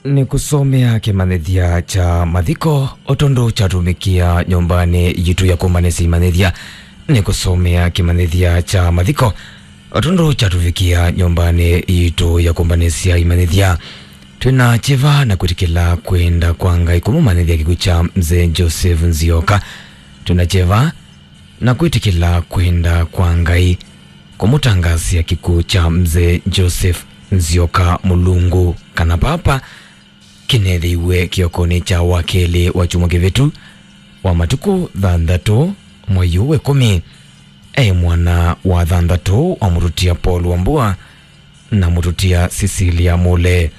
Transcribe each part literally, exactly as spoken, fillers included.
Nĩkũsomea kĩmanyĩthya kya mathiko, o tondũ kyatũmĩkĩa nyũmbanĩ yitũ ya kũmbanĩsya imanyĩthya. Nĩkũsomea kĩmanyĩthya kya mathiko, o tondũ kyatũvikĩa nyũmbanĩ yitũ ya kũmbanĩsya imanyĩthya. Twĩna kyeva na kwĩtĩkĩla kwenda kwa Ngai kũmũmanyĩthya kĩkw'ũ kya Mzee Joseph Nzioka. Twĩna kyeva na kwĩtĩkĩla kwenda kwa Ngai kũmũtangaasya kĩkw'ũ kya Mzee Joseph Nzioka Mũlungu, kana Papa, kĩneethĩiwe kĩokonĩ kya wakelĩ wa kyumwa kĩvĩtu wa matukũ thanthatũ mwei ũũ wa ĩkũmi. E mwana wa thanthatũ wa mũtutia Paul Wambua na mũtutia Cecilia Mule.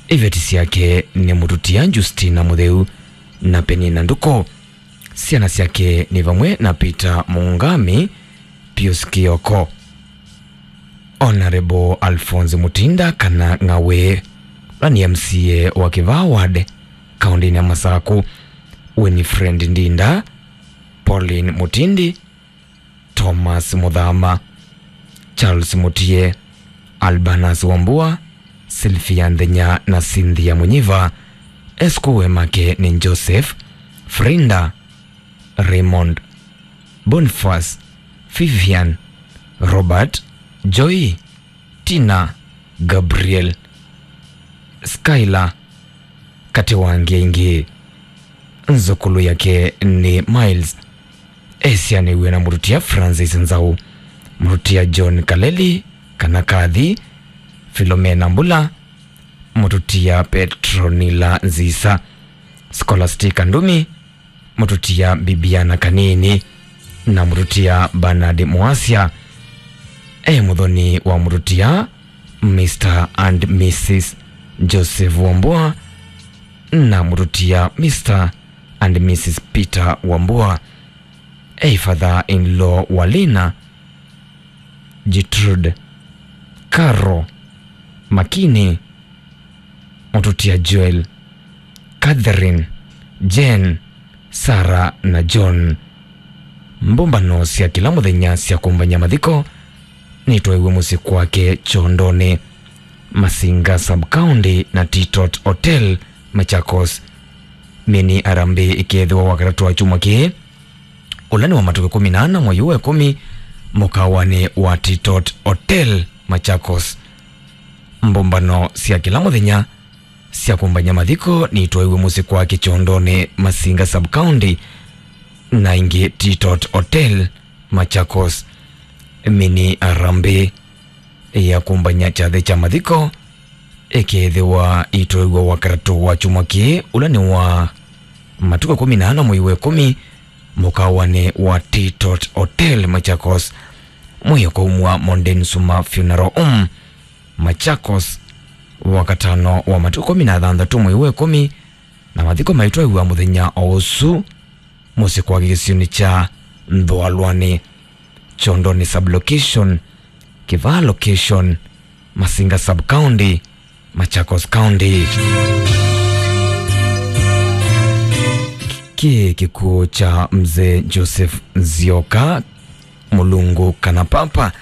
Iveti syake nĩ mũtutia Justina Mũtheu na Penina Nduku. Syana syake nĩ vamwe na Peter Mungami, Pius Kioko, Honorable Alphonse Mutinda kana Ng'awĩ, ũla nĩ M C A wa Kĩvaa Ward, kaũntĩnĩ ya Masaku, Winifred Ndinda, Pauline Mutindi, Thomas Muthama, Charles Mutie, Albanus Wambua, Sylvia Nthenya na Cynthia Munyiva. Eskuwe make nĩ Joseph, Frinda, Raymond, Boniface, Vivian, Robert, Joy, Tina, Gabriel, Skylar, katĩ wa angĩ aingĩ. Nzũkũlũ yake nĩ Miles. Esyanĩw'e na mũtutia Francis Nzau, mũtutia John Kaleli kana Kathi, Philomena Mbula, mũtutia Petronila Nzisa, Scholastica Ndumi, mũtutia Bibiana Kanini, na mũtutia Bernard Mwasya. E mũthoni wa mũtutia Mister and Missus Joseph Wambua na mũtutia Mister and Missus Peter Wambua. E father-in-law wa Lina, Gertrude, Caro, Makini, mũtutia Joel, Catherine, Jane, Sarah na John. Mbũmbano sya kĩla mũthenya sya kũmbany'a mathiko nitwaĩwe mũsyĩ kwake Kyondonĩ, Masinga Sub-County na Titot Hotel, Machakos. Mini harambee ĩkeethĩwa Wakatatũ wa kyumwa kĩĩ, ũla nĩ wa matukũ ĩkũmi na ana mwei wa ĩkũmi, mũkawanĩ wa Titot Hotel, Machakos. Mbũmbano sya kĩla mũthenya sya kũmbany'a mathiko nitwaĩwe mũsyĩ kwake Kyondonĩ, Masinga Sub-County, na ingĩ Titot Hotel, Machakos. Mini harambee ya kũmbany'a kyathĩ kya mathiko ĩkeethĩwa itwaĩwa Wakatatũ wa kyumwa kĩĩ, ũla nĩ wa matukũ ĩkũmi na ana mwei wa ĩkũmi, mũkawanĩ wa Titot Hotel, Machakos. Mwĩĩ ũkaumw'a Mondeni Suma Funeral Home, Machakos, Wakatano wa matukũ ĩkũmi na thanthatũ mwei wa ĩkũmi, na mathiko maitwaĩwa mũthenya o ũsu mũsyĩ kwake kĩsionĩ kya Nthũalwanĩ, Kyondonĩ Sub-Location, Kĩvaa Location, Masinga Sub-County, Machakos County. Kĩ kĩkw'ũ kya Mzee Joseph Nzioka Mũlungu kana Papa,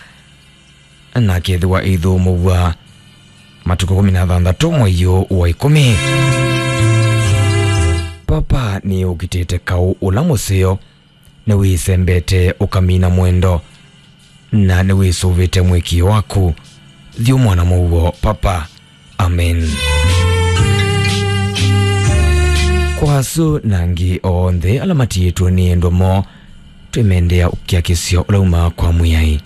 na kethĩwa ĩithũmũw'a matukũ ĩkũmi na thanthatũ mwei ũũ wa ĩkũmi. Papa nĩũkitĩte kaũ ũla mũseo, nĩwĩsembete ũkamina mwendo, na nĩwĩsũvĩte mũĩkĩĩo waku. Thyũ mwana mũuo, Papa. Amen. Kwa asu na angĩ onthe ala matiĩtwe nĩ endwa moo, twĩmendea ũkiakĩsyo ũla umaa kwa Mwĩai.